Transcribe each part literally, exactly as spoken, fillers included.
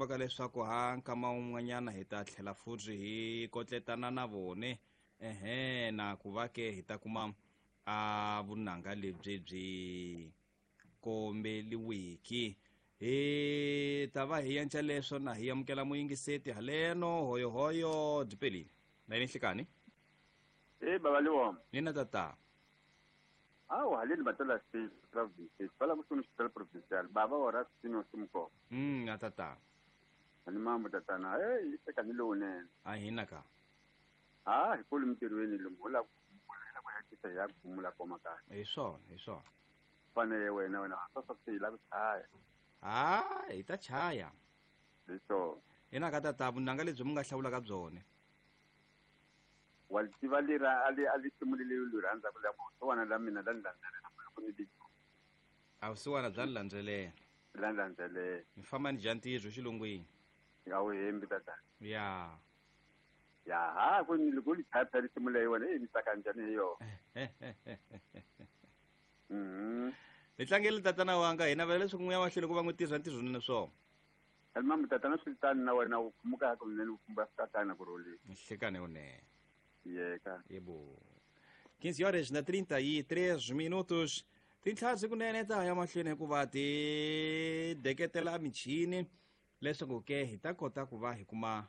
tshembaka leswaku ha nkama wun'wanyana hi ta tlhela futhi hi kotletana na vone ehe na ku va ke hi ta kuma a vunanga lebyi byi kombeliwiki. Hi ta va hi yenca leswo na hi amukela muyingiseti haleno hoyohoyo dipelini na yini nhlikani. E baba Liwom. Nina tata. Awu haleni batala state province bala kusunu hospital provincial baba ora sino simko. Mm na tata. Ani mambo tatana eh iseka ni lone. A hina ka. Ah hikulu mtirweni lumula kumula kwa hakika ya kumula kwa makaya. Hi swona, hi swona. Fanele wena wena sasa sila kuchaya. Ah, hi ta chaya. Hi swona. Hina ka tata vunanga lebyi mi nga hlawula ka byona. Wa tiva lera ali ali simulile lu rhandza ku la wana la mina la landzelela ku ni di. A vusiwana bya landzelela. La landzelela. Mi famba ni dya ntirho xilungwini. Ya wu hembi tata. Ya. Ya ha ku ni loko li thatha li simula yona e mi tsaka njhani hi yona. Mhm. Hi tlangele tatana wanga hina vela leswaku n'wi ya mahlweni ku va n'wi tirha ntirho nene swona. Alma tatana swi tani na wena u khumuka ku nene u fumba tatana ku rhulile. Nhlekane unene. Yeka. Yebo. quinze horas na trinta e três minutos. Tintlhari kunene ta ya mahlweni hikuva ti deketela michini leswaku ke hi ta kota ku va hi kuma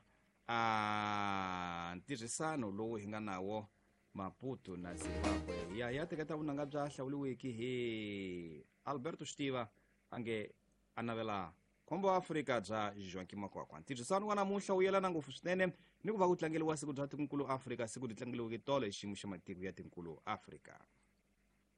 a ntirhisano lowu hi nga nawo Maputo na Zimbabwe. Ya ya teketa vunanga bya hlawuliwiki hi Alberto Stiva ange a navela khombo wa Afrika bya Joaquim Makwakwa. Ntirhisano wa namuntlha wu yelana ngopfu swinene ni ku va ku tlangeriwa siku bya Tikonkulu Afrika, siku ri tlangeriweke tolo hi xiyimo xa matiko ya Tinkulu Afrika.